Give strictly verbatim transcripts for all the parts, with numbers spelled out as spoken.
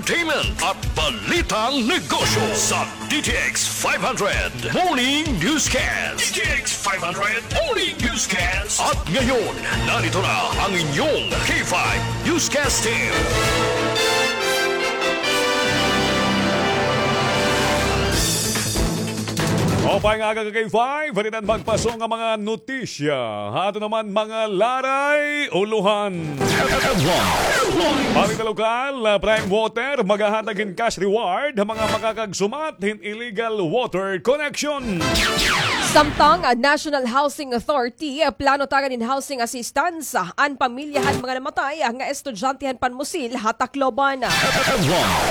entertainment at balitang negosyo sa D T X five hundred Morning Newscast. D T X five hundred Morning Newscast. At ngayon, narito na ang inyong K five Newscast Team. Maupay nga aga ka K five, halitan magpaso nga mga notisya. Ha ato naman mga laray, ulohan. Balita lokal, Prime Water, maghahatag hin cash reward ha mga makakagsumat hin illegal water connection. Samtang, ah, National Housing Authority, ah, plano tagan hin housing assistance, ah, an pamilya han mga namatay, ah, nga estudyante han Panmusil ha Tacloban.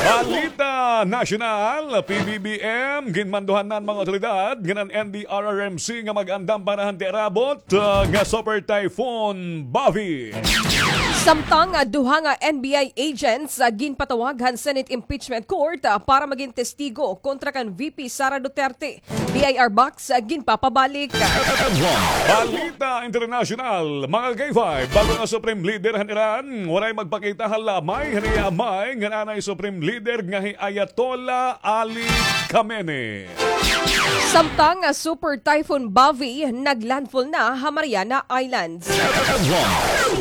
Balita nasyonal, P B B M, ginmanduhan na an mga otoridad ngan an N D R R M C nga mag-andam para han tiarabot, ah, nga Super Typhoon Bavi. Samtang, ah, duha nga N B I agents, ah, ginpatawag han Senate Impeachment Court, ah, para magin testigo kontra kan V P Sara Duterte. B I R box, ah, ginpapabalik. Balita internasyonal, mga K five, bag-o nga Supreme Leader han Iran, waray magpakita ha lamay han iya amay ngan anay Supreme Leader nga hi Ayatollah Ali Khamenei. Samtang, ah, Super Typhoon Bavi naglandfall na ha Mariana Islands.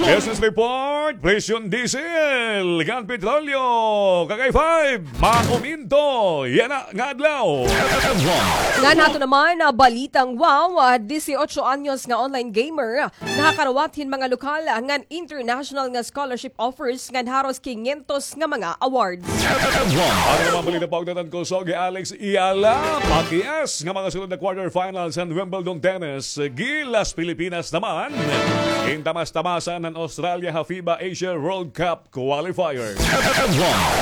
Business report, presyon diesel ngan petrolyo. Ka K five, mauminto yana nga adlaw. Ngan ha ato naman, ah, balitang wow, ah, dieciocho anyos nga online gamer, ah, nakakarawat hin mga lokal, ah, ngan international nga scholarship offers ngan haros quinientos nga mga awards. Ano naman balita pa og datan ko, Sogi Alex Iyala, pakias nga mga sunod na quarterfinals han Wimbledon Tennis, gilas Pilipinas naman. Intamas-tamasan han Australia ha FIBA Asia World Cup qualifier.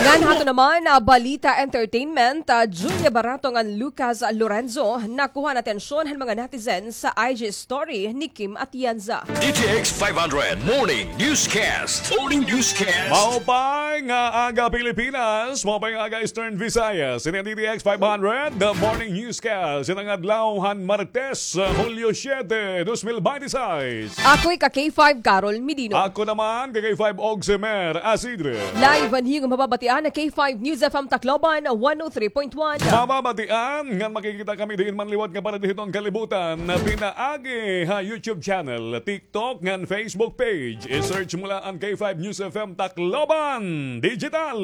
Ngan ha ato naman, ah, balita entertainment, ah, Julia Barato ngan Lucas Lorenzo nakuha an atensyon han mga netizens sa I G story ni Kim Atienza. D T X five hundred Morning Newscast. Morning Newscast. Maupay nga aga Pilipinas, maupay nga aga Eastern Visayas. Ini an D T X five hundred, The Morning Newscast. Ini an adlaw han Martes, Hulyo siete, dos mil binte seis. Ako hi ka K five Carol Medino. Ako naman, ka K five Ogsemer Asidre. Live an iyo nga mababatian ha K five News F M Tacloban, one oh three point one. Mababatian ngan makikita kami diin man liwat nga parte hiton kalibutan, pinaagi ha YouTube channel, TikTok ngan Facebook page. I-search mo la an K five News F M Tacloban Digital.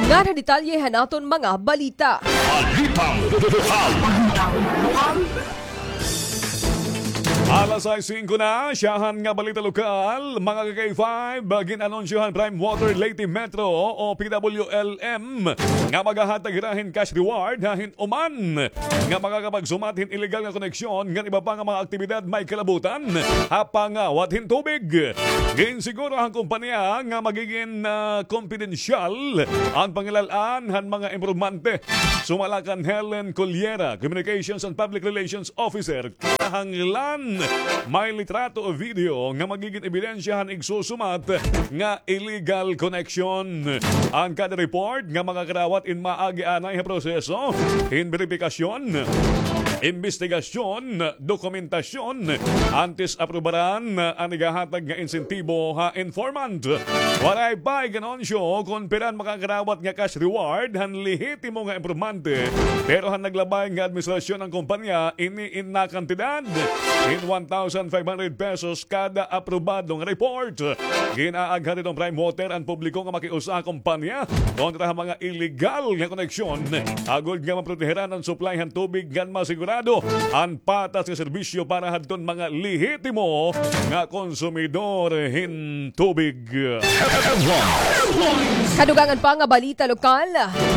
Ngan ha detalye han aton mga balita. Balitang lokal. Alas sais singko na, syahan nga balita lokal, mga ka K five, gin-anunsyo han Prime Water Leyte Metro o P W L M nga maghahatag hira hin cash reward ha hin-uman nga makakapagsumat hin illegal nga koneksyon ngan iba pa nga mga aktibidad may kalabutan ha pangawat hin tubig. Ginsiguro han kompanya nga magigin, ah, kompidensyal an pangilal-an han mga impormante. Sumala kan Helen Cullera, Communications and Public Relations Officer, kinahanglan may litrato o video nga magigin ebidensya han igsusumat nga illegal connection. An kada report nga makakarawat in maagi anay ha proseso hin beripikasyon, imbestigasyon, dokumentasyon antes aprubaran an igahatag nga insentibo ha informant. Waray pa igan-anunsyo kon pira an makakarawat nga cash reward han lehitimo nga impormante, pero han naglabay nga administrasyon an kompanya ini in nakantidad in one thousand five hundred pesos kada aprobado nga report. Gin-aaghat hiton Prime Water an publiko nga makiusa ha kompanya kontra ha mga illegal nga koneksyon, agod nga maproteheran an supply han tubig ngan masigurado an patas nga serbisyo para hadton mga lehitimo nga konsumidor hin tubig. Kadugangan pa nga balita lokal,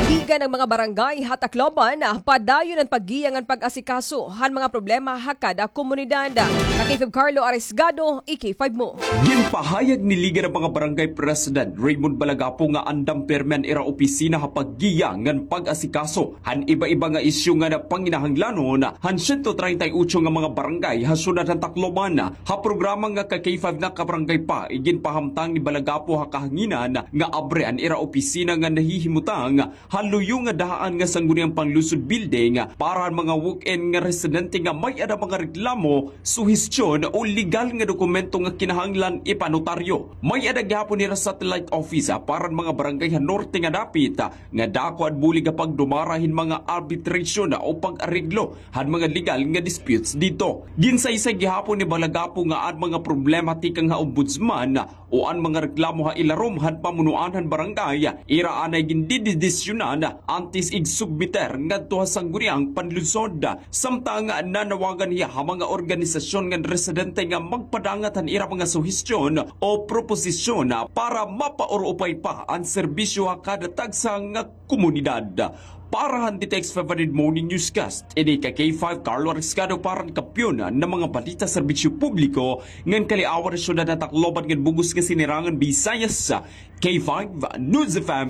ligan an mga barangay ha Tacloban padayon an paggiya ngan pag-asikaso han mga problema ha kada komunidad. Ka K five Carlo Arisgado, i K five mo. Ginpahayag ni Liga han mga Barangay President Raymond Balagapo nga andam pirme an ira opisina ha paggiya ngan pag-asikaso han iba-iba nga isyu nga panginahanglanon han siyento treinta y ocho nga mga barangay ha syudad han Tacloban. Ha programa nga ka K five na kabarangay pa, iginpahamtang ni Balagapo ha kahanginan nga abre an ira opisina nga nahihimutang ha luyo nga dahaan nga Sangguniang Panlungsod Building para han mga walk-in nga residente nga may-ada mga reklamo, suhestyon o legal nga dokumento nga kinahanglan ipanotaryo. May-ada gihapon nira satellite office para han mga barangay ha norte nga dapit nga dako an bulig ha pagdumara hin mga arbitration o pag-areglo han mga legal nga disputes didto. Ginsaysay gihapon ni Balagapo nga an mga problema tikang ha ombudsman o an mga reklamo ha ilarom han pamunuan han barangay, ira anay gindedesisyonan antes igsubmiter ngadto ha Sangguniang Panlungsod. Samtang nanawagan hiya ha mga organisasyon ngan residente nga magpadangat han ira mga suhestyon o proposisyon para mapaurupay pa an serbisyo ha kada tagsa nga komunidad. Para han D T X five hundred Morning Newscast, ini ka K five Carlo Ariscado para han Kampiyon nga mga balita, serbisyo publiko ngan kaliawan ha syudad han Tacloban ngan bug-os nga sinirangan Bisayas, K five News F M.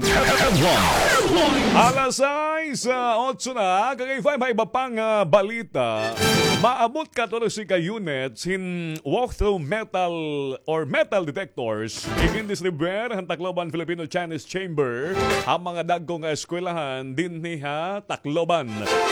Alas sais, ah, otso na, ka K five, ha iba pa nga balita. Maabot katorse ka units hin walk-through metal or metal detectors igin-distribuyar han Tacloban Filipino Chinese Chamber ha mga dagko nga eskwelahan dinhi ha Tacloban.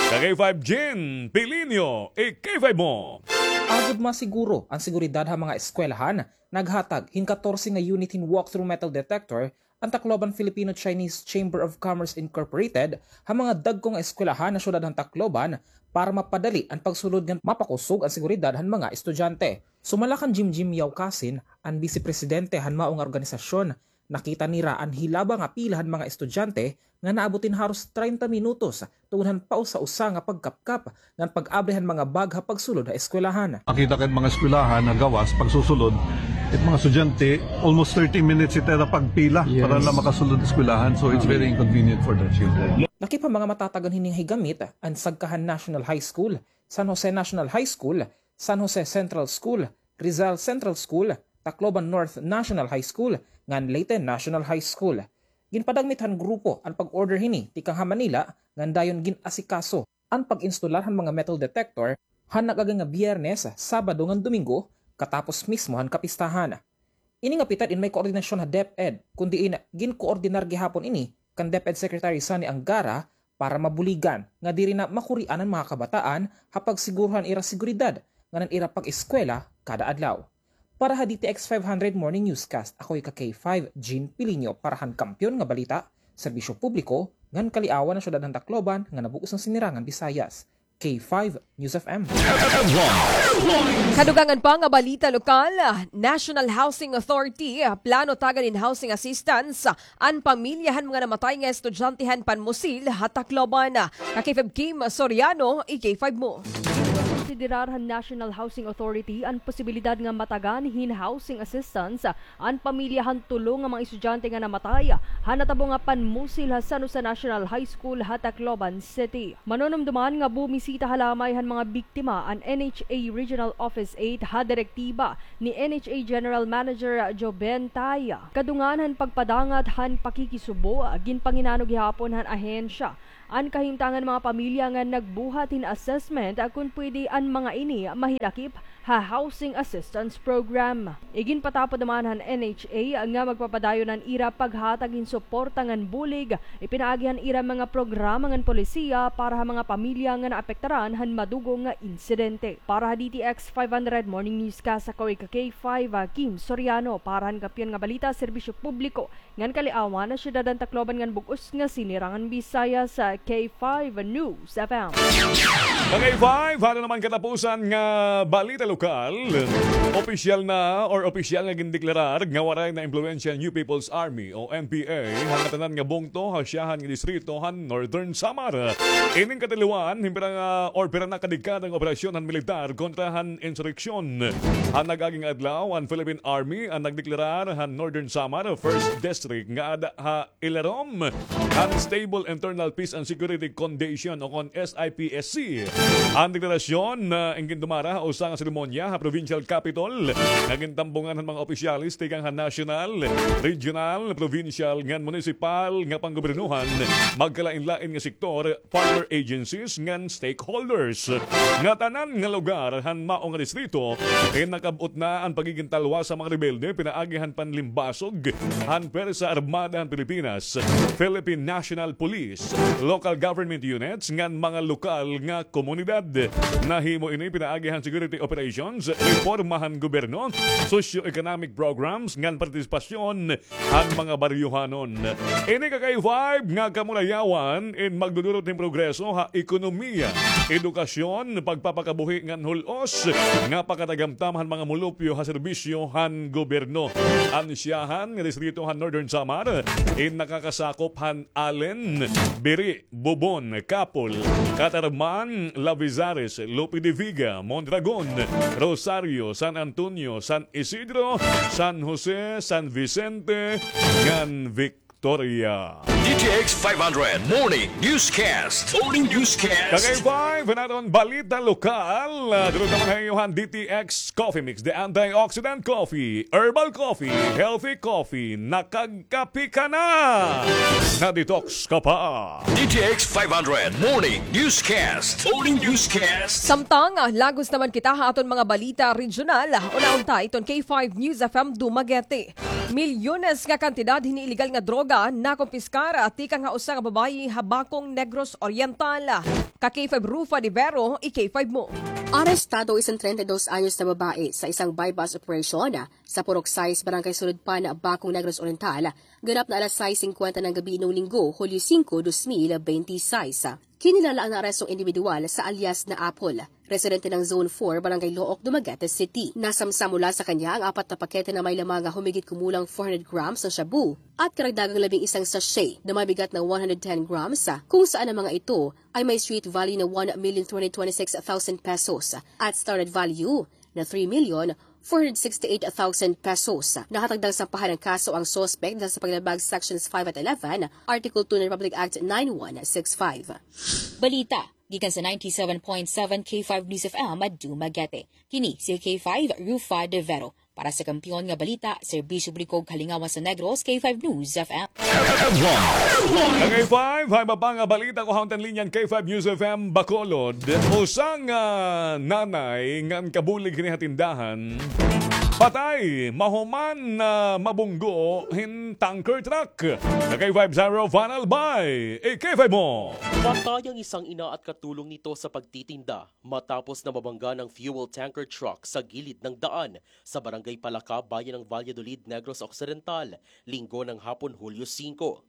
Ka K five, Jean Pilinio, i-K five mo. Agod masiguro an seguridad ha mga eskwelahan, naghatag hin katorse nga unit hin walk-through metal detector an Tacloban Filipino Chinese Chamber of Commerce Incorporated ha mga dagko nga eskwelahan ha syudad han Tacloban para mapadali an pagsulod ngan mapakusog an seguridad han mga estudyante. Sumala kan Jimjim Yaukasin, an bise presidente han mao nga organisasyon, nakita nira an hilaba nga pila han mga estudyante nga naabot hin haros treinta minutos tungod han pausa-usa nga pagkapkap ngan pag-abri han mga bag ha pagsulod ha eskwelahan. Makita ka it mga eskwelahan ha gawas, pagsusulod, it mga estudyante, almost thirty minutes it ira pagpila para la makasulod eskwelahan. So it's very inconvenient for the children. Lakip ha mga matatagan hini nga higamit an Sagkahan National High School, San Jose National High School, San Jose Central School, Rizal Central School, Tacloban North National High School, ngan Leyte National High School. Ginpadagmit han grupo an pag-order hini tikang ha Manila ngan dayon gin-asikaso an pag-instalar han mga metal detector han nag-agi nga Biyernes, Sabado ngan Domingo katapos mismo han kapistahan. Ini nga pitad in may koordinasyon ha DepEd, kun diin ginkoordinar gihapon ini kan DepEd Secretary Sonny Angara para mabuligan nga diri na makurian an mga kabataan ha pagsiguro han ira seguridad ngan an ira pag-eskwela kada adlaw. Para ha D T X five hundred Morning Newscast, ako ika K five, Jean Pilinio, para han Kampiyon nga Balita, Serbisyo Publiko, ngan kaliawan ha syudad han Tacloban ngan ha bug-os nga Sinirangan Bisayas. K five News F M. Kadugangan pa nga balita lokal, National Housing Authority, plano tagan hin housing assistance an pamilya han mga namatay nga estudyante han Panmusil ha Tacloban. Ka K five Kim Soriano, i-K five mo. Konsiderar han National Housing Authority an posibilidad nga matagan hin housing assistance an pamilya han tulo nga mga estudyante nga namatay ha natabo nga Panmusil ha San Jose National High School ha Tacloban City. Manunumduman nga bumisita ha lamay han mga biktima an N H A Regional Office eight ha direktiba ni N H A General Manager Joben Tay. Kadungan han pagpadangat han pakikisubo, ginpanginano gihapon han ahensya an kahimtang han mga pamilya nga nagbuhat hin assessment kon pwede an mga ini mahinakip ha housing assistance program. Iginpatapod naman han N H A nga magpapadayon an ira paghatag hin suporta ngan bulig ipinaagi han ira mga programa ngan polisiya para ha mga pamilya nga naapektaran han madugong nga insidente. Para ha D T X five hundred Morning Newscast, ako ika K five, Kim Soriano, para han Kampiyon nga Balita, Serbisyo Publiko, ngan kaliawan ha syudad han Tacloban ngan bug-os nga Sinirangan Bisayas, K five News F M. Mga K five, hada naman katapusan nga balita lokal. Opisyal na or opisyal nga gindeklarar nga waray naimpluwensya an New People's Army o N P A ha ngatanan nga bungto ha syahan nga distrito han Northern Samar. Ining katiliwan, hin pira nga or pira na kadekada nga operasyon han militar kontra han insureksyon. Han nag-agi nga adlaw, an Philippine Army an nagdeklarar han Northern Samar First District nga ada ha ilarom han Stable Internal Peace and Security Condition o kon S I P S C. An deklarasyon na in gindumara ha usa nga seremonya ha Provincial Capitol nga gintambungan han mga opisyales tikang ha nasyonal, regional, provincial ngan munisipal nga panggobernohan, magkalain-lain nga sektor, partner agencies ngan stakeholders. Ngatanan nga lugar han mao nga distrito, kay nakab-ot na an pagiging talwas sa mga rebelde pinaagi han panlimbasog han Pwersa Armada han Pilipinas, Philippine National Police, local government units ngan mga lokal nga komunidad. Nahimo ini pinaagi han security operations, reforma han gobyerno, socio-economic programs ngan partisipasyon han mga baryohanon. Ini ka K five nga kamulayawan in magdudurot hin progreso ha ekonomiya, edukasyon, pagpapakabuhi ngan hul-os nga pakatagamtam han mga mulupyo ha serbisyo han gobyerno. An syahan nga distrito han Northern Samar in nakakasakop han Alen, Biri, Bobon, Capul, Catarman, Lavezares, Lope de Vega, Mondragon, Rosario, San Antonio, San Isidro, San Jose, San Vicente, ngan Victoria. D T X five hundred Morning Newscast. Morning Newscast. Ka K five, an aton balita lokal. Ah, durot naman ha iyo han D T X Coffee Mix, the antioxidant coffee, herbal coffee, healthy coffee, nakag- Kape ka na! Na-detox ka pa! D T X five hundred Morning Newscast. Morning Newscast. Samtang, ah, lagos naman kita ha aton mga balita regional. Unahon ta iton K five News F M Dumaguete. Milyones nga kantidad hini ilegal nga droga nakumpiskar tikang ha usa nga babaye ha Bacong, Negros Oriental. Ka K five Rufa de Vero, i-K five mo. Arestado isang treinta y dos anyos na babae sa isang buy-bust operation sa Purok sais, Barangay Suludpan, Bacong, Negros Oriental, ganap na alas sais singkwenta ng gabi nung Linggo, Hulyo singko, dos mil bente y seis. Kinilala ang naarestong indibidwal sa alias na Apple. Residente ng Zone four, Barangay Looc, Dumaguete City. Nasamsam mula sa kanya ang apat na pakete na may lamang humigit kumulang four hundred grams ng shabu at karagdagang labing isang sachet na may bigat na one hundred ten grams, kung saan ang mga ito ay may street value na one million two hundred twenty-six thousand pesos at standard value na three million four hundred sixty-eight thousand pesos. Nakatagdang sampahan ng kaso ang suspect dahil sa paglabag Sections five at eleven, Article two ng Republic Act nine one six five. Balita gikan sa ninety-seven point seven K five News F M Dumaguete. Kini si K five Rufa de Vero. Para sa kampiyon nga balita, serbisyo publiko ug kalingawan sa Negros, K five News F M. Headlines. Ang K five, hay iba pa nga balita ko ha untan linyan K five News F M Bacolod. Usa nga nanay ngan kabulig hini ha tindahan patay mahuman na mabunggo hin tanker truck. Ka K five Zero Van Albay, i-K five mo. Patay ang isang ina at katulong nito sa pagtitinda matapos na mabangga ng fuel tanker truck sa gilid ng daan sa Barangay Palaka, Bayan ng Valladolid, Negros Occidental, Linggo ng hapon, Hulyo singko.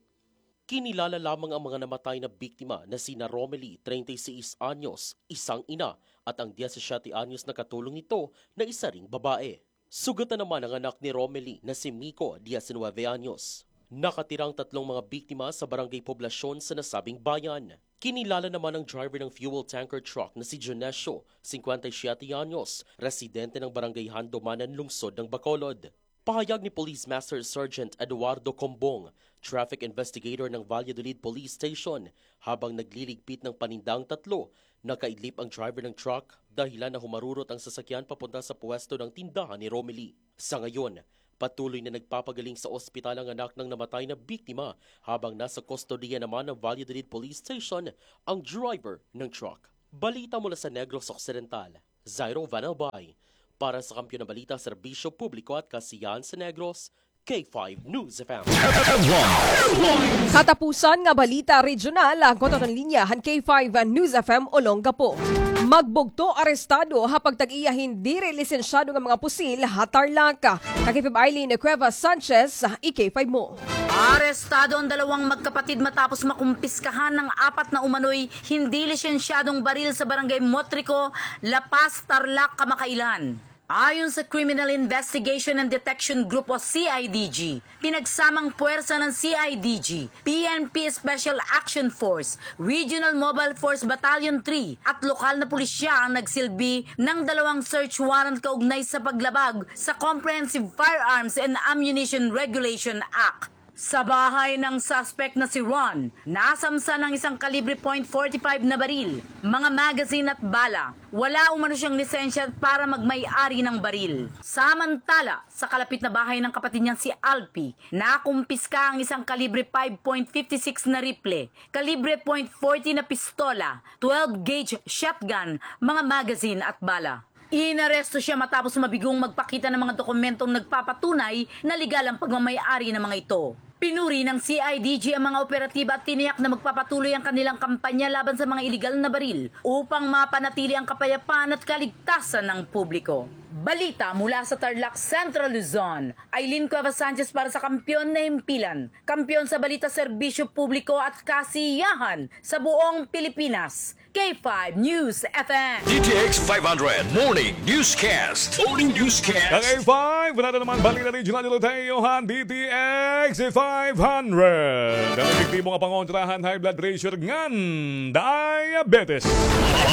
Kinilala lamang ang mga namatay na biktima na sina Romely, treinta y seis anyos, isang ina, at ang diyasisiyete anyos na katulong nito na isa ring babae. Sugatan naman ang anak ni Romely na si Miko, diyasinuwebe anyos. Nakatira ang tatlong mga biktima sa Barangay Poblacion sa nasabing bayan. Kinilala naman ang driver ng fuel tanker truck na si Dionesio, singkwenta y siyete anyos, residente ng Barangay Handomanan, lungsod ng Bacolod. Pahayag ni Police Master Sergeant Eduardo Combong, traffic investigator ng Valladolid Police Station, habang nagliligpit ng paninda ang tatlo, nakaidlip ang driver ng truck, dahilan na humarurot ang sasakyan papunta sa puwesto ng tindahan ni Romely. Sa ngayon, patuloy na nagpapagaling sa ospital ang anak ng namatay na biktima, habang nasa kustodiya naman ng Valladolid Police Station ang driver ng truck. Balita mula sa Negros Occidental, Zairo Van Albay. Para sa Kampiyon ng Balita, Serbisyo Publiko at Kasiyahan sa Negros, K five News F M. Headlines. Katapusan nga balita regional, agwat aton linya han K five News F M Olongapo. Magbugto arestado ha pagtag-iya hin diri lisensyado nga mga pusil ha Tarlac. Ka K five Eileen Cuevas Sanchez, i-K five mo. Arestado ang dalawang magkapatid matapos makumpiskahan ng apat na umano'y hindi lisensyadong baril sa Barangay Motrico, La Paz, Tarlac, kamakailan. Ayon sa Criminal Investigation and Detection Group o C I D G, pinagsamang puwersa ng C I D G, P N P Special Action Force, Regional Mobile Force Battalion three at lokal na pulisya ang nagsilbi ng dalawang search warrant kaugnay sa paglabag sa Comprehensive Firearms and Ammunition Regulation Act. Sa bahay ng suspect na si Ron, nasamsan ang isang kalibre point forty five na baril, mga magazine at bala. Wala umano siyang lisensya para magmay-ari ng baril. Samantala, sa kalapit na bahay ng kapatid niyang si Alpi, nakumpiska ang isang kalibre five point fifty six na rifle, kalibre point forty na pistola, twelve gauge shotgun, mga magazine at bala. Inaresto siya matapos mabigong magpakita ng mga dokumentong nagpapatunay na legal ang pagmamay-ari ng mga ito. Pinuri ng C I D G ang mga operatiba at tiniyak na magpapatuloy ang kanilang kampanya laban sa mga iligal na baril upang mapanatili ang kapayapaan at kaligtasan ng publiko. Balita mula sa Tarlac, Central Luzon. Aileen Cuevas Sanchez para sa Kampiyon na Himpilan, kampiyon sa balita, serbisyo publiko at kasiyahan sa buong Pilipinas. K five News F M. D T X five hundred Morning Newscast. Morning Newscast. Ang K five, wala na naman balita regional dito tayo, han, D T X five hundred. Ang epektibo nga pangontrahan high blood pressure ngan diabetes.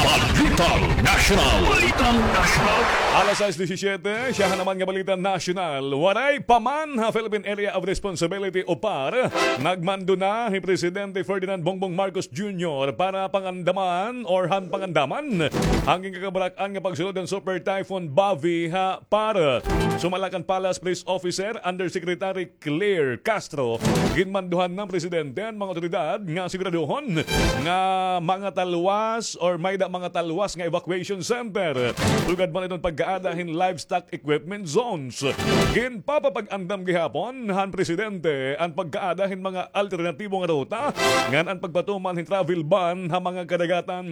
Balitang National. Balitang National. Alas sais disisiete, siya naman nga balita nasyonal. Waray pa man ha Philippine Area of Responsibility o PAR, nagmando na hi Presidente Ferdinand Bongbong Marcos Junior para pangandaman or han pangandaman han ginkakabarak-an nga pagsulod han Super Typhoon Bavi ha PAR. Sumala kan Palace Police Officer Undersecretary Claire Castro, ginmanduhan han presidente an mga awtoridad nga siguraduhon nga mga talwas or may-ada mga talwas nga evacuation center. Sugad man iton pagkaada hin livestock equipment zones. Ginpapapag-andam gihapon han presidente an pagkaada hin mga alternatibo nga ruta ngan an pagpatuman hin travel ban ha mga kadagatan.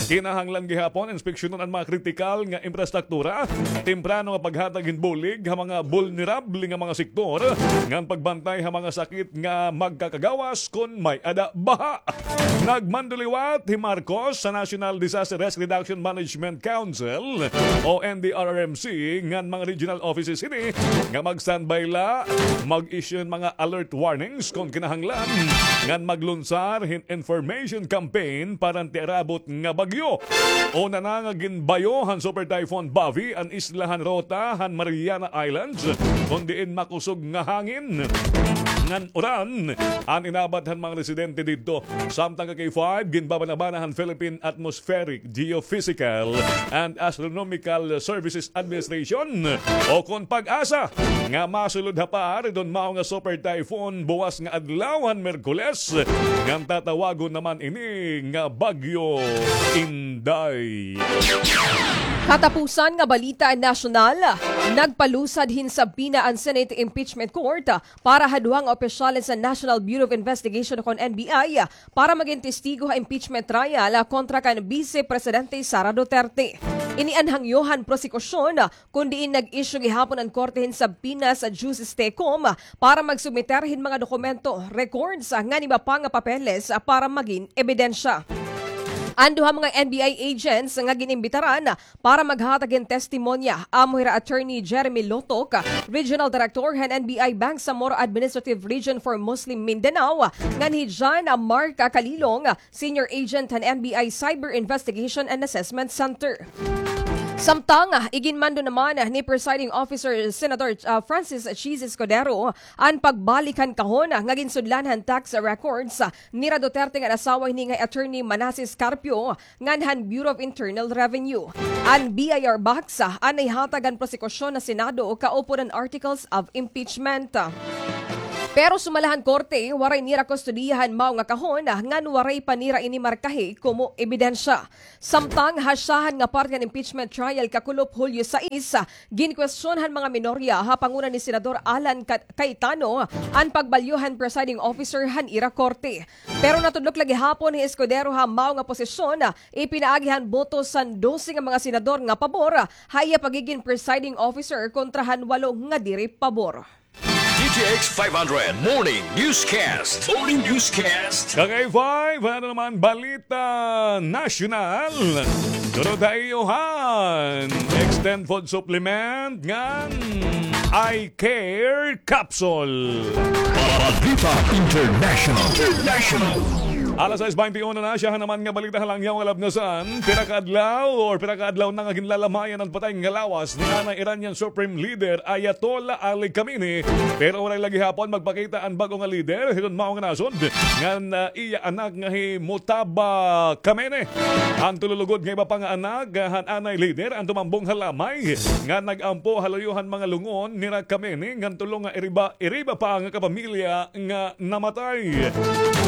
Kinahanglan gihapon inspeksyonon an mga kritikal nga infrastruktura, temprano nga paghatag hin bulig ha mga bulnerable nga mga sektor, ngan pagbantay ha mga sakit nga magkakagawas kon may-ada baha. Nagmando liwat hi Marcos sa National Disaster Risk Reduction Management Council o N D R R M C ngan mga regional offices hini nga mag-standby la, mag-issue hin mga alert warnings kon kinahanglan, ngan maglunsar hin information campaign para han tiarabot nga bagyo. Una na nga ginbayo han Super Typhoon Bavi an isla han ruta han Mariana Islands, kon diin makusog nga hangin ngan uran an inabat han mga residente didto. Samtang ka K five, ginbabanabana han Philippine Atmospheric, Geophysical and Astronomical Services Administration o kon PAGASA nga masulod ha PAR iton mao nga Super Typhoon buwas nga adlaw han Miyerkules, ngan tatawagon naman ini nga Bagyo Inday. Katapusan nga balita nasyonal, nagpalusad hin subpoena an Senate Impeachment Court para ha duha nga opisyales han National Bureau of Investigation kon N B I para magin testigo ha impeachment trial kontra kan Vice Presidente Sara Duterte. Ini an hangyo han prosekusyon kon diin nag-issue gihapon an korte hin subpoena sa Justice Tecum para magsubmiter hin mga dokumento, records, ngan iba pa nga papeles para magin ebidensya. An duha mga N B I agents nga gin-imbitaran para maghatag hin testimonya, amo hira Attorney Jeremy Lotoc, Regional Director han N B I Bangsamoro Administrative Region for Muslim Mindanao, ngan hi John Mark Calilong, Senior Agent han N B I Cyber Investigation and Assessment Center. Samtang, iginmando naman ni Presiding Officer Senator, ah, Francis Chiz Escudero an pagbalik han kahon nga ginsudlan han tax records nira Duterte ngan asawa hini nga Attorney Manases Carpio ngan han Bureau of Internal Revenue. An B I R box an ihatag han prosekusyon ha Senado kaupod an articles of impeachment. Pero sumala han korte, waray nira kustodiya han mao nga kahon ngan waray pa nira ini markahi komo ebidensya. Samtang ha syahan nga parte han impeachment trial kakulop Hulyo sais, ginkwestiyon han mga minorya ha panguna ni Senador Alan Ca-, Cayetano an pagbalyo han presiding officer han ira korte. Pero natudlok la gihapon hi Escudero ha mao nga posisyon, ipinaagi han boto san dose nga mga senador nga pabor ha iya pagigin presiding officer kontra han walo nga diri pabor. D T X five hundred Morning Newscast. Morning Newscast. Kagay five, ano naman balita nasyonal? Sunod ha iyo han Extend Food Supplement ngan Eye Care Capsule. Balita International. International. Alas sais baynte uno na, siya naman nga balita ha langyaw nga labnasan. Pira ka adlaw or pira ka adlaw na nga ginlalamayan an patay nga lawas ni anay Iranian Supreme Leader Ayatollah Ali Khamenei. Pero waray la gihapon magpakita an bag-o nga leader hiton mao nga nasod ngan, ah, iya anak nga hi Mojtaba Khamenei. An tulo lugod nga iba pa nga anak, ah, han anay leader an tumambong ha lamay nga nag-ampo ha luyo han mga lungon nira Khamenei ngan tulo nga iriba, iriba pa nga kapamilya nga namatay.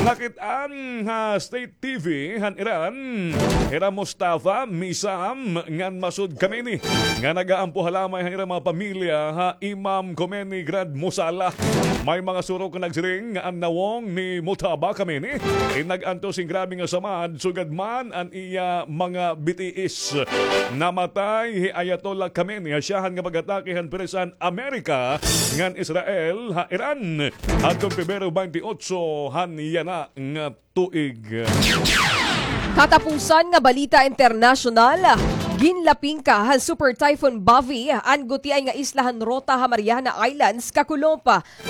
Nakit-an ha state T V han Iran, hira Mustafa, Misam, ngan Masoud Khamenei, nga nag-aampo ha lamay han ira mga pamilya ha Imam Khomeini Grand Musalla. May mga surok nga nagsiring nga an nawong ni Mojtaba Khamenei in nag-antos hin grabe nga samad, sugad man an iya mga bitiis. Namatay hi Ayatollah Khamenei ha syahan nga pag-atake han pwersa han Amerika ngan Israel ha Iran hadtong Pebrero baynte otso han yana nga tuig. Katapusan nga balita internasyonal, ginlapingka han Super Typhoon Bavi an gutiay nga isla han Rota ha Mariana Islands kakulop.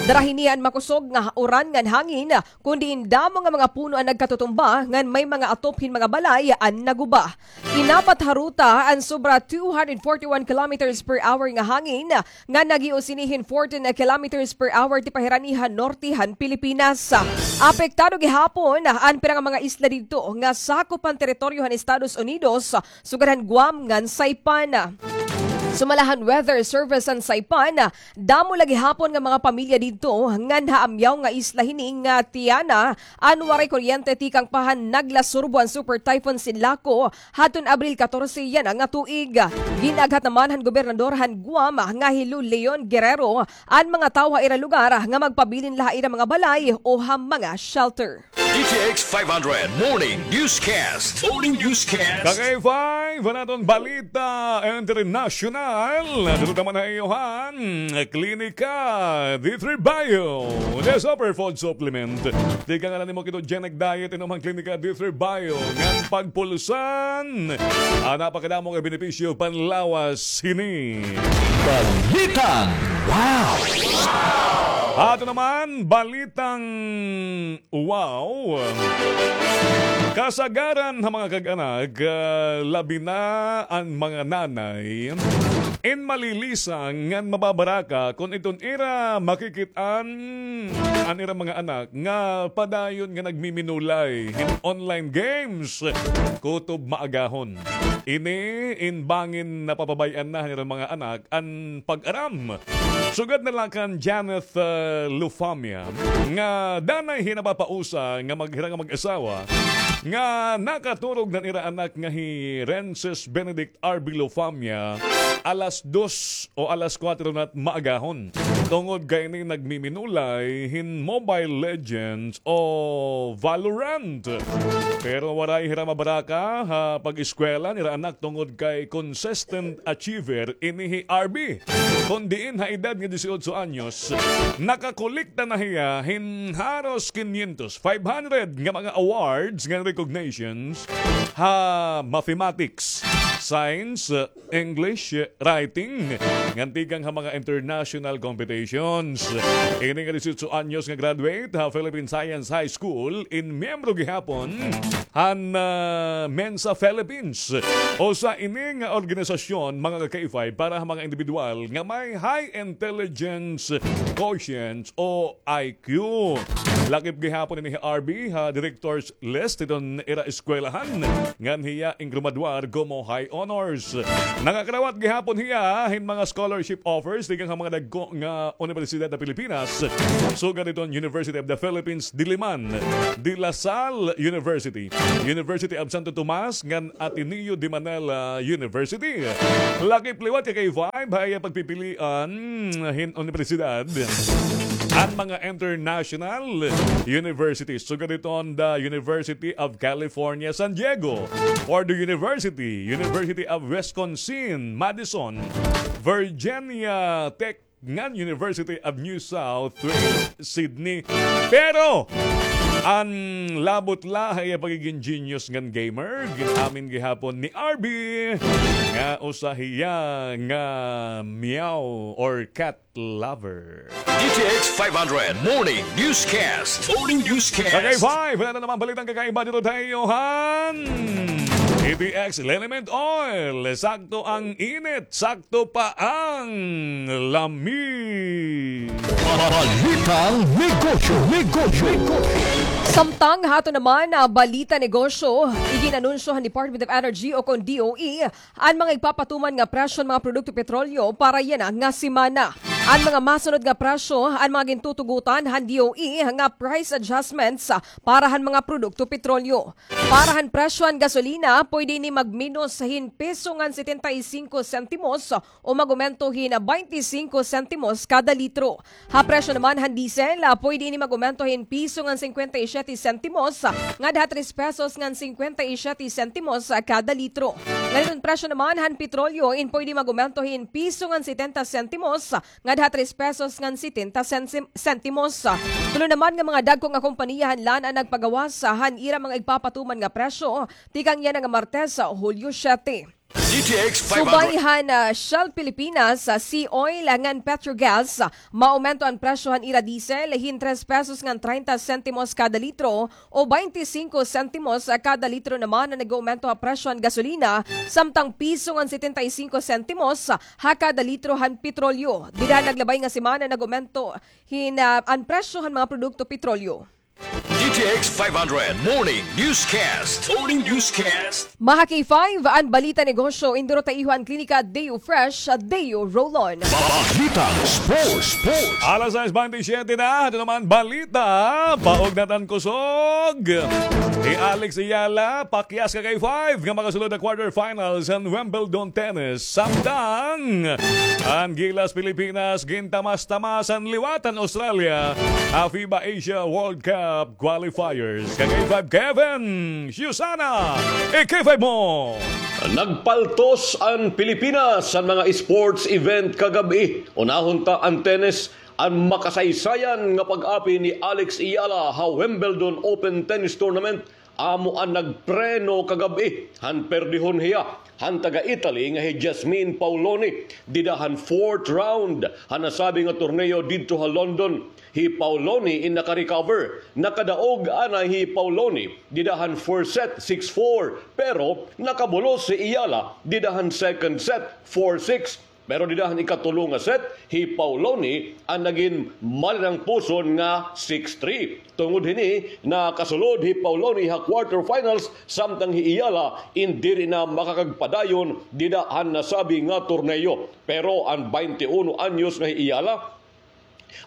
Dara hini an makusog nga uran ngan hangin, kun diin damo nga mga puno an nagkatutumba ngan may mga atop hin mga balay an naguba. Inapat ha ruta an sobra two hundred forty-one kilometers per hour nga hangin nga naghios hini hin fourteen kilometers per hour tipahirani han norte han Pilipinas. Apektado gihapon an pira nga mga isla didto nga sakop han teritoryo han Estados Unidos, sugad han Guam ngan Saipan. Sumala han Weather Service han Saipan, damo la gihapon nga mga pamilya didto ngan ha amyaw nga isla hini nga Tiana an waray kuryente tikang pa han naglasurbo an Super Typhoon Sinlaku hadton Abril katorse yana nga tuig. Gin-aghat naman han gobernador han Guam nga hi Lou Leon Guerrero an mga tawo ha ira lugar nga magpabilin la ha ira mga balay o ha mga shelter. D T X five hundred Morning Newscast. Morning Newscast. Ka-K five, an aton balita internasyonal. Dito naman ha iyo han Klinika D three Bio, the superfood supplement. Tikang an nimo ketogenic diet, inom han Klinika D three Bio ngan pagpulusan an napakadamo nga benepisyo panlawas hini. Balitang Wow! Ato naman, balitang wow. Kasagaran ha mga kag-anak, ah, labi na an mga nanay, in malilisang ngan mababaraka kon iton ira makikit-an an ira mga anak nga padayon nga nagmiminulay hin online games kutob maagahon. Ini in bangin napapabay-an na han ira mga anak an pag-aram. Sugad na la kan Janeth, ah, Lufamia, nga danay hin napapausa nga maghira nga mag-asawa, nga nakaturog na an ira anak nga hi Rences Benedict R B Lufamia alas dos o alas kuwatro na maagahon. Tungod kay ini nagmiminulay hin Mobile Legends o Valorant. Pero waray hira mabaraka ha pag-eskwela nira anak tungod kay consistent achiever ini hi R B. Kon diin ha edad nga disiotso anyos, nakakolekta na hiya hin haros kinyentos, five hundred nga mga awards ngan recognitions ha mathematics, science, English, writing, ngan tikang ha mga international competitions. Ini nga disiotso anyos nga graduate ha Philippine Science High School in miyembro gihapon han, ah, Mensa Philippines. Usa ini nga organisasyon, mga ka-K five, para ha mga indibidwal nga may high intelligence quotient o I Q. Lakip gihapon ini hi R B ha director's list hiton ira eskwelahan, ngan hiya in grumaduar komo high honors. Nakakarawat gihapon hiya hin mga scholarship offers tikang ha mga dagko nga unibersidad ha Pilipinas, sugad hiton University of the Philippines Diliman, De La Salle University, University of Santo Tomas, ngan Ateneo de Manila University. Lakip liwat ka-K five ha iya pagpipilian hin unibersidad an mga international universities. Sugad hiton the University of California, San Diego, Purdue University, University of Wisconsin, Madison, Virginia Tech, ngan University of New South Wales, Sydney. Pero an labot la ha iya pagiging genius ngan gamer, gin-amin gihapon ni R B nga usa hiya nga meow or cat lover. D T X five hundred Morning Newscast. Morning Newscast. Sa K five, wala na naman balitang kakaiba dito tayo, han. D T X Liniment Oil. Sakto ang init, sakto pa ang lami. Balitang negosyo, negosyo, negosyo. Samtang hato naman, ah, balita negosyo, iginanunsyo han Department of Energy o kon D O E an mga igpapatuman nga presyo han mga produkto petrolyo para yana nga semana. An mga masunod nga presyo, an mga gintutugutan han D O E nga price adjustments para han mga produkto petrolyo. Para han presyo han gasolina, pwede ini magminos hin piso ngan setenta y cinco sentimos o mag-umento hin baynte singko sentimos kada litro. Ha presyo naman han diesel, ah, pwede ini mag-umento hin piso ngan singkwenta y siyete sentimos, ah, ngadha tres pesos ngan singkwenta y siyete sentimos, ah, kada litro. Ngan an presyo naman han petrolyo in pwede mag-umento hin piso ngan setenta sentimos, ah, ngadha tres pesos ngan setenta sentim-, sentimos. Tulo naman nga mga dagko nga kompaniya han lan an nagpagawas, ah, han ira mga igpapatuman nga presyo tikang yana nga Martes, ah, Hulyo siyete. D T X five hundred. Subay han, ah, Shell Pilipinas, ah, SeaOil, ah, ngan Petrogas, ah, maumento an presyo han ira diesel hin tres pesos ngan treinta sentimos kada litro o baynte singko sentimos, ah, kada litro naman an nag-uumento ha presyo han gasolina, samtang piso ngan setenta y singko sentimos, ah, ha kada litro han petrolyo. Dida han naglabay nga semana nag-uumento hin, ah, an presyo han mga produkto petrolyo. D T X five hundred Morning Newscast. Morning Newscast. Mga K five, an balita negosyo, induro ta iyo an klinika Deo Fresh, Deo Roll-On. Balitang sports, sports. Alas sais baynte siyete na, ito naman balita, paog na tan kusog. Hi Alex Eala, pakyas ka K five, nga makasulod ha quarterfinals han Wimbledon Tennis. Samtang an Gilas Pilipinas, gintamas-tamasan liwat han Australia ha FIBA Asia World Cup qualifiers. Ka K five Kevin Susana, i-K five mo! Nagpaltos an Pilipinas han mga sports event kagab-i. Unahon ta an tennis, an makasaysayan nga pag-apil ni Alex Eala ha Wimbledon Open Tennis Tournament amo an nagpreno kagab-i han perdehon hiya han taga-Italy nga hi Jasmine Paoloni dida han fourth round han nasabi nga torneo didto ha London. Hi Paoloni in naka-recover. Nakadaog anay hi Paoloni dida han first set, six four, pero nakabulos hi Eala dida han second set, four six. Pero dida han ikatulo nga set, hi Paoloni an nagin malinangpuson nga six three. Tungod hini, nakasulod hi Paoloni ha quarterfinals, samtang hi Eala in diri na makakagpadayon dida han nasabi nga torneo. Pero an baynte uno anyos nga hi Eala,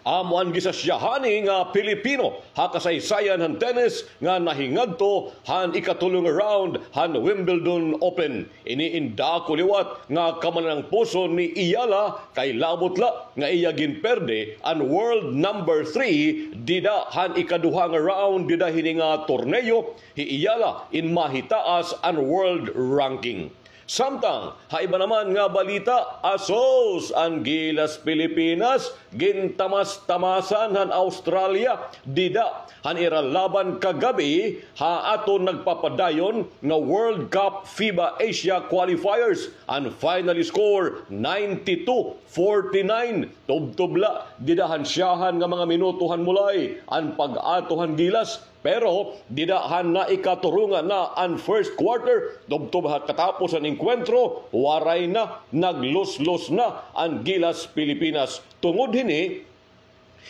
amo an gisasyahan ini nga Pilipino ha kasaysayan han tennis nga nahingadto han ikatulo nga round han Wimbledon Open. Ini in dako liwat nga kamalinangpuson ni Eala kay labot la nga iya ginperde an world number three dida han ikaduha nga round dida hini nga torneo. Hi Eala in mahitaas an world ranking. Samtang ha iba naman nga balita, asos an Gilas Pilipinas, gintamas-tamasan han Australia dida han ira laban kagab-i ha aton nagpapadayon nga World Cup FIBA Asia Qualifiers. An final score, ninety-two forty-nine. Tubtob la dida han syahan nga mga minuto han mulay an pag-ato han Gilas. Pero dida han naikaturongan na an first quarter, tubtob ha katapos han engkwentro, waray na, nagluslos na an Gilas Pilipinas. Tungod hini,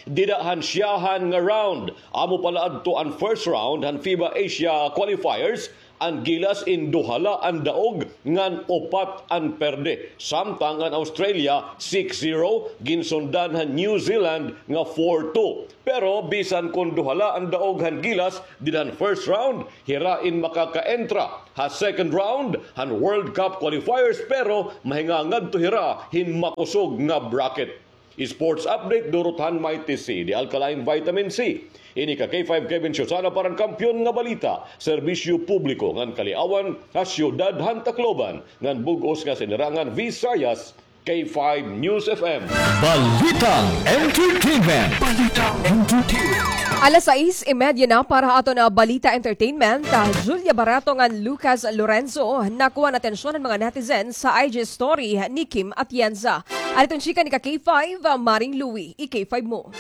dida han syahan nga round, amo pala adto an first round han FIBA Asia Qualifiers, an Gilas in duha la an daog ngan upat an perde. Samtang an Australia, six zero, ginsundan han New Zealand nga four two. Pero bisan kon duha la an daog han Gilas dida han first round, hira in makaka-entra ha second round han World Cup qualifiers, pero mahingangadto hira hin makusog nga bracket. Sports update, durot han Mighty C, the alkaline vitamin C. Ini ka K five Kevin Susana para han Kampiyon nga Balita, serbisyo publiko ngan kaliawan ha siyudad han Tacloban ngan bug-os nga sinirangan Visayas. K five News F M. Balitang Entertainment. Balitang Entertainment. Alas sais y media na para ha aton nga Balita Entertainment. Ah, Julia Barreto ngan Lucas Lorenzo, nakuha an atensyon han mga netizens ha I G story ni Kim Atienza. An iton chika ni ka K five, ah, Maring Louie, i-K five mo.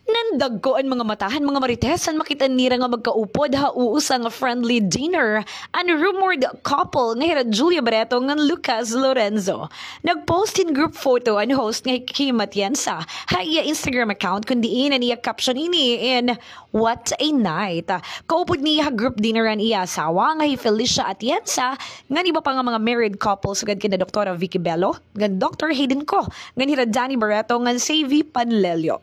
Nandagko an mga mata han mga marites han makit-an nira nga magkaupod ha usa nga friendly dinner an rumored couple nga hira Julia Barreto ngan Lucas Lorenzo. Nag-post hin group photo an host nga hi Kim Atienza ha iya Instagram account, kun diin an iya caption ini in "What a night." Kaupod niya ha group dinner an iya asawa nga hi Felicia Atienza ngan iba pa nga mga married couple sugad kina Doktora Vicky Bello ngan Doktor Hayden Ko ngan hira Danny Barreto ngan Savy Panlelio.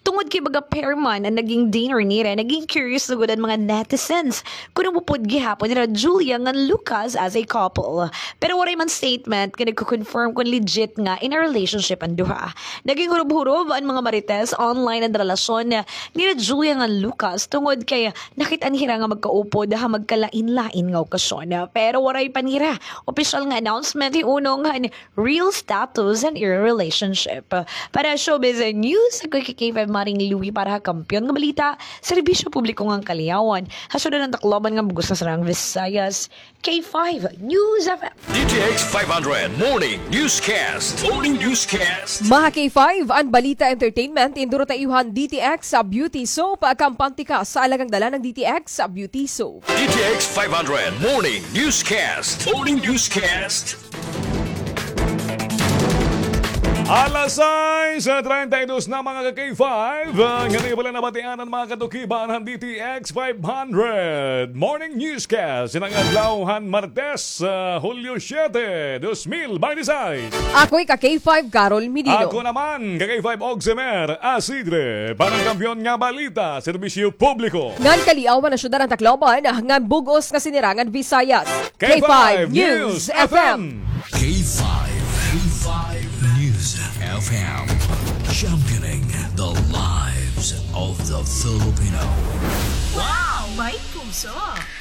Tungod kay baga pair man an naging dinner nira, naging curious lugod an mga netizens kun upod gihapon nira Julia ngan Lucas as a couple. Pero waray man statement nga nagko-confirm kun legit nga in a relationship an duha. Naging hurob-hurob an mga marites online an relasyon nira Julia ngan Lucas tungod kay nakit-an hira nga magkaupod ha magkalain-lain nga okasyon. Pero waray pa nira opisyal nga announcement hiunong han real status an ira relationship. Para Showbiz News, ako hi K five Maring Louie para ha Kampiyon nga Balita, Serbisyo Publiko ngan Kaliyawan, ha syudad han Tacloban ngan bug-os nga Saraang Visayas, K five News F M. D T X five hundred Morning Newscast. Morning Newscast. Mga K five, an Balita Entertainment, induro ta iyo han D T X Beauty Soap, kampante ka sa alagang dala ng D T X Beauty Soap. D T X five hundred Morning Newscast. Morning Newscast. Alas sais treinta y dos na, mga ka-K five. Ah, ngani pala nabatian an mga katukiban han D T X five hundred Morning Newscast. Iton adlaw han Martes, ah, Hulyo siyete, dos mil bente-sais. Ako hi ka-K five Carol Medino. Ako naman, ka-K five Oximer Asidre. Para han Kampiyon nga Balita, Serbisyo Publiko ngan Kaliyawan ha syudad han Tacloban, ngan bug-os nga Sinirangan Visayas. K five News F M. K five, K five News F M. Championing the lives of the Filipino. Wow, may puso.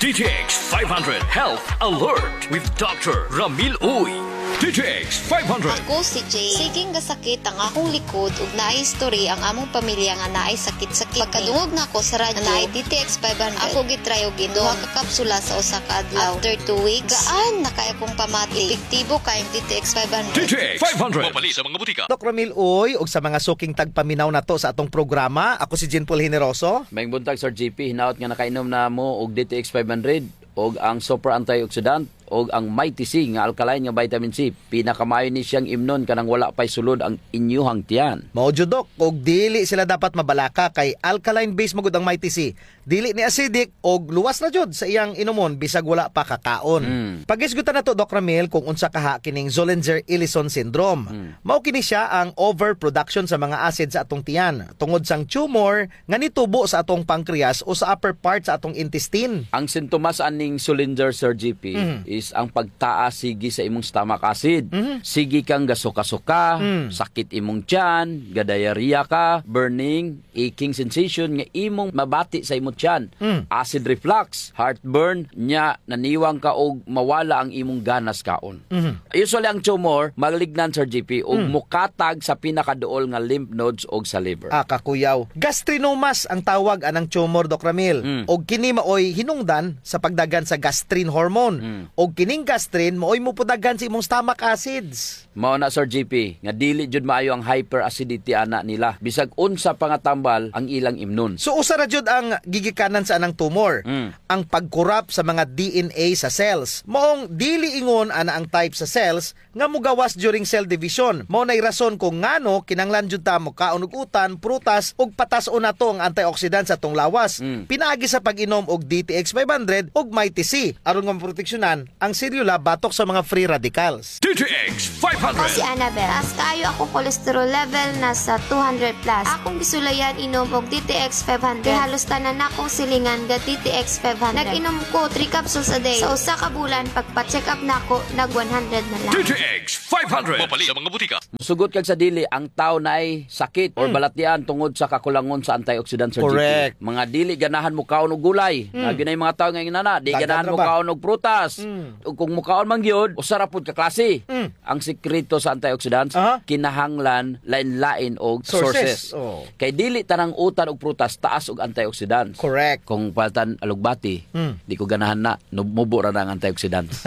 D T X five hundred Health Alert with Doctor Ramil Uy. D T X five hundred. Ako si Jay. Sige nga sakit ang akong likod ug naay history ang among pamilya nga naay sakit-sakit. Pagkadungog nako sa radyo nga naay D T X five hundred, ako gi-try og inom duha ka kapsula sa usa ka adlaw. After two weeks, gaan na kaayo akong pamati. Epektibo kaayo ang D T X five hundred. D T X five hundred. Mapalit sa mga butika. Doc Ramil Uy, ug sa mga suking tagpaminaw nato sa atong programa, ako si Jean Paul Generoso. Maayong buntag, Sir J P. Hinaot nga nakainom na mo og D T X five hundred, og ang super antioxidant, og ang Mighty C nga alkaline nga vitamin C. Pinakamaayo ni siyang imnon kanang wala pay sulod ang inyuhang tiyan. Mao jud, Doc, ug dili sila dapat mabalaka kay alkaline base man gud ang Mighty C. Dili ni acidic og luwas ra jud sa iyang inumon bisag wala pa kakaon. Mm. Paghisgutan nato, Doc Ramil, kung unsa kaha kining Zollinger-Ellison syndrome. Mm. Mao kini siya ang overproduction sa mga acid sa atong tiyan tungod sang tumor nga nitubo sa atong pancreas o sa upper part sa atong intestine. Ang sintomas aning Zollinger, Sir J P, mhm, is ang pagtaas sige sa imong stomach acid. Mhm. Sige kang gasuka-suka, mm, sakit imong tiyan, ga-diarrhea ka, burning, aching sensation nga imong mabati sa imong tiyan. Mm. Acid reflux, heartburn, nya naniwang ka og mawala ang imong ganas kaon. Mhm. Usually, ang tumor, malignant, Sir J P, ug, mm, mokatag sa pinakaduol nga lymph nodes ug sa liver. Ah, kakuyaw. Gastrinomas ang tawag anang tumor, Doc Ramil. Mm. Ug kini maoy hinungdan sa pagdaghan sa gastrin hormone. Mm. Ug kining gastrin maoy mopudaghan sa imong stomach acids. Mao na, Sir J P, nga dili jud maayo ang hyperacidity ana nila. Bisag unsa pa nga tambal ang ilang imnon. So, usa ra jud ang gigikanan sa anang tumor. Mm. Ang pag-corrupt sa mga D N A sa cells. Maong dili ingon ana ang type sa cells nga mogawas during cell division. Mao nay rason kung ngano kinahanglan jud ta mokaon og utan, prutas, ug patas-on nato ang antioxidant sa atong lawas. Mm. Pinaagi sa pag-inom og D T X five hundred ug Mighty C, aron nga maproteksyonan ang selula batok sa mga free radicals. D T X five hundred. Ako si Annabel. Taas kaayo akong cholesterol level, nasa two hundred plus. Akong gisulayan inom og D T X five hundred. Kay halos tanan nakong silingan ga D T X five hundred. Nag-inom ko three capsules a day. Sa usa ka bulan, pagpa-check up nako, nag one hundred na lang. D T X five hundred. Mapalit sa mga butika. Mosugot kag sa dili, ang tawo naay sakit or, mm, balatian tungod sa kakulangon sa antioxidant, Sir J P. Correct. Mga dili ganahan mokaon og gulay. Mm. Labi na yung mga tawo nga ingon ana, di ganahan mokaon og prutas. Mm. Ug kung mukaon man gyud, usa ra pud ka klase. Mm. Ang sikreto sa antioxidants, Aha. kinahanglan lain-lain og Sources. sources. Oh. Kay dili tanang utan ug prutas taas og antioxidants. Correct. Kung paltan alugbati, Hmm. di ko ganahan na, nub-, mubo ra na ang antioxidants.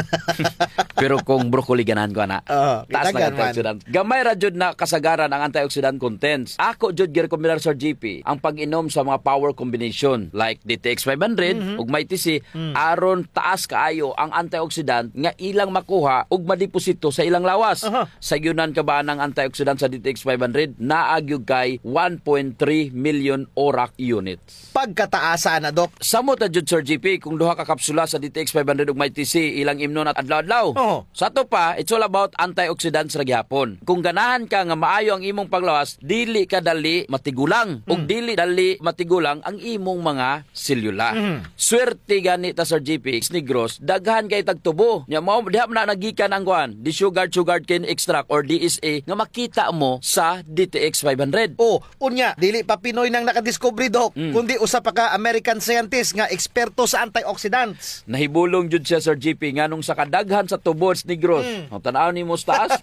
Pero kung broccoli, ganahan ko ana. Oh, Taas na ang kinahanglan man. antioxidants. Gamay ra jud na kasagaran ang antioxidant contents. Ako jud girekomendar, Sir G P, ang pag-inom sa mga power combination like D T X five hundred Mhm. ug Mighty C, Hmm. aron taas kaayo ang antioxidant nga ilang makuha ug madeposito sa ilang lawas. Aha. Sayon ka ba anang antioxidant sa D T X five hundred? Naa gyud kay one point three million ORAC units. Pagkataasa na, Doc. Samot na jud, Sir G P, kung duha ka kapsula sa D T X five hundred ug Mighty C ilang imnon at adlaw-adlaw. Oo. Sa ato pa, it's all about antioxidants ra gihapon. Kung ganahan ka nga maayo ang imong panglawas, dili ka dali matigulang. Ug Mm. dili dali matigulang ang imong mga selula. Mhm. Swerte gani ta, Sir G P, sa Negros, daghan kay tagtubo. Nya, mao, diha man na nagikan ang kuan, desugared sugarcane extract or D S E nga makita mo sa D T X five hundred. Oh, unya, dili pa Pinoy nang nakadiskubre, Doc, Mm. kundi usa pa ka American scientist nga eksperto sa antioxidants. Nahibulong jud siya, Sir G P, nganong sa kadaghan sa tubo sa Negros. Mm. Ang tan-aw nimo sa taas,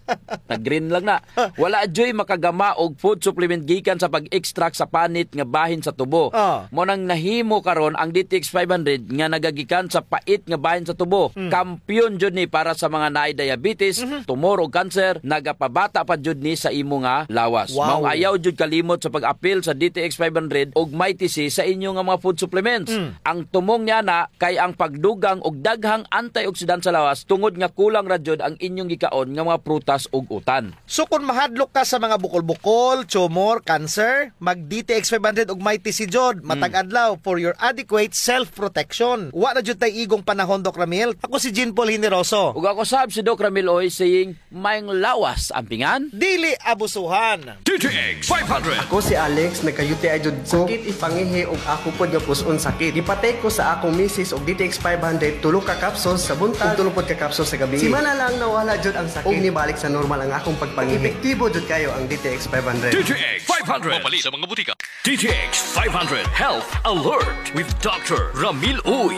nag-green lang na. Wala juy makagama og food supplement gikan sa pag-extract sa panit nga bahin sa tubo. Ah. Mao nang nahimo karon ang D T X five hundred nga nagagikan sa pait nga bahin sa tubo. Mm. Kampiyon jud ni para sa mga naay diabetes, Mhm. tumor ug cancer, nagapabata pa jud ni sa imo nga lawas. Wow. Mao nga ayaw jud kalimot sa pag-apil sa D T X five hundred ug Mighty C sa inyo nga mga food supplements. Mm. Ang tumong niana kay ang pagdugang og daghang antioxidant sa lawas tungod nga kulang ra jud ang inyong gikaon nga mga prutas ug utan. So, kon mahadlok ka sa mga bukol-bukol, tumor, cancer, mag D T X five hundred ug Mighty C jud, matag adlaw for your adequate self-protection. Wa na jud tay igong panahon, Doc Ramil. Ako si Jean Paul Generoso. Ug ako sab si Doc Ramil Uy, saying, maayong lawas ampingan. Dili abusuhan. D T X five hundred. Ako si Alex, nagka-U T I jud ko. Sakit ipangihi ug ako pod nga pus-on sakit. Gipatake ko sa akong misis og D T X five hundred, tulo ka capsules sa buntag, ug tulo pod ka capsules sa gabii. Semana lang nawala jud ang sakit. Ug nibalik sa normal ang akong pagpangihi. Epektibo jud kayo ang D T X five hundred. D T X five hundred. Mapalit sa mga butika. D T X five hundred Health Alert with Doctor Ramil Uy.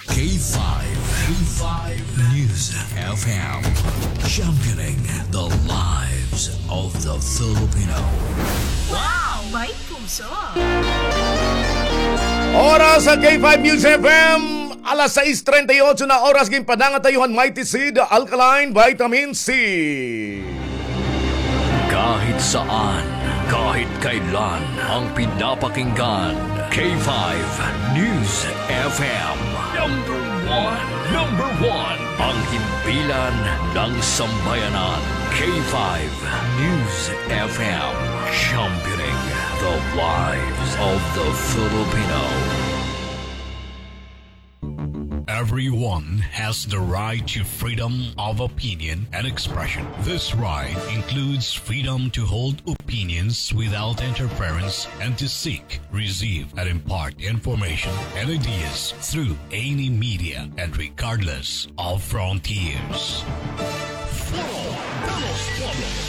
K five, K five News F M, championing the lives of the Filipino. Wow! May puso! Oras sa K five News F M, alas sais treinta y ocho na oras, ginpadangat ta iyo han Mighty Seed Alkaline Vitamin C. Kahit saan, kahit kailan, ang pinapakinggan, K five News F M. Number one, number one, ang himpilan ng sambayanan, K five News F M, championing the lives of the Filipino. Everyone has the right to freedom of opinion and expression. This right includes freedom to hold opinions without interference and to seek, receive, and impart information and ideas through any media and regardless of frontiers. Foro de los Pueblos,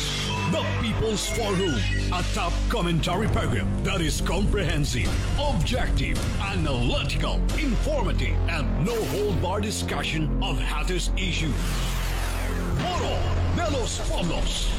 the People's Forum, a top commentary program that is comprehensive, objective, analytical, informative, and no-hold-bar discussion of hottest issues. Foro de los Pueblos.